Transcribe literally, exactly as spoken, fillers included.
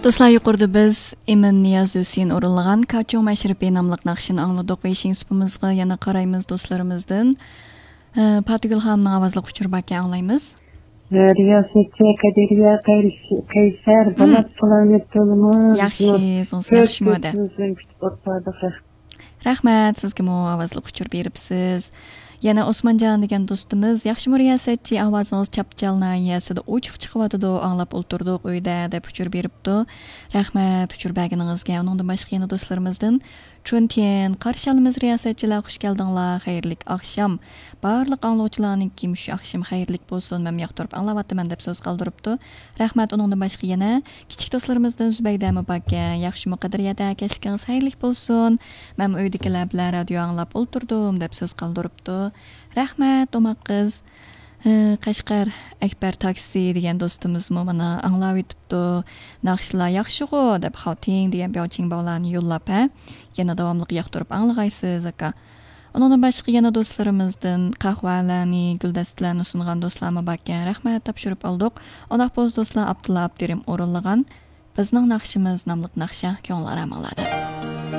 دوستلار، يۇقىرىدا بىز ئىمىن نىياز ھۈسېن ئورۇنلىغان كاچۇڭ مەشرىپى ناملىق ناخشىنى ئاڭلىدۇق. بېيىشىڭ سۇپىمىزغا يەنە قارايمىز دوستلىرىمىزدىن. ئە، پاتىگۈل خانىمنىڭ ئاۋازلىق ئۇچۇرى باركەن، ئاڭلايمىز. رىياسەتچى قەدىرىيە قەيس-، قەيسەر، ھىم. بولات سالامەت بولىمىز. ياخشى، ئۆزىڭىز ياخشىمۇ دە؟ كۆز كۆزىمىز بىلەن كۈتۈپ ئولتۇردۇق. رەھمەت، سىزگىمۇ ئاۋازلىق ئۇچۇر بېرىپسىز. يەنە ئوسمانجان دېگەن دوستىمىز، ياخشىمۇ رىياسەتچى، ئاۋازىڭىز چاپچال ناھىيەسىدە ئوچۇق چىقىۋاتىدۇ، ئاڭلاپ ئولتۇردۇق ئۆيدە، دەپ ئۇچۇر بېرىپتۇ. رەھمەت ئۇچۇر بەرگىنىڭىزگە. ئۇنىڭدىن باشقا يەنە دوستلىرىمىزدىن چۈنتىيەن، قارشى ئالىمىز رىياسەتچىلەر، خۇش كەلدىڭلار، خەيرلىك ئاخشام. بارلىق ئاڭلىغۇچىلارنىڭكى مۇشۇ ئاخشىمى خەيرلىك بولسۇن، مەنمۇ ياقتۇرۇپ ئاڭلاۋاتىمەن، دەپ سۆز قالدۇرۇپتۇ. رەھمەت. ئۇنىڭدىن باشقا يەنە كىچىك دوستلىرىمىزدىن زۇبەيدەمۇ باركەن. ياخشىمۇ قەدرىيەدە، كەچلىكىڭىز خەيرلىك بولسۇن. مەنمۇ ئۆيدىكىلەر بىلەن رادىيو ئاڭلاپ ئولتۇردۇم، دەپ سۆز قالدۇرۇپتۇ. رەھمەت، ئوماق قىز. ھە، قەشقەر ئەكبەر تاكسى دېگەن دوستىمىزمۇ مانا ئاڭلاۋېتىپتۇ. ناخشىلار ياخشىغۇ، دەپ خاۋتىڭ دېگەن بياۋچىڭ باۋلارنى يوللاپ، ھە، يەنە داۋاملىق ياقتۇرۇپ ئاڭلىغايسىز، ئاكا. ئۇنىڭدىن باشقا يەنە دوستلىرىمىزدىن قەھۋەلەرنى، گۈلدەستىلەرنى سۇنغان دوستلارمۇ باركەن. رەھمەت، تاپشۇرۇپ ئالدۇق. ئۇنداق بولسا دوستلار، ئابدۇللا ئابدۇرېھىم ئورۇنلىغان بىزنىڭ ناخشىمىز ناملىق ناخشا كۆڭۈل ئارامىڭلاردا.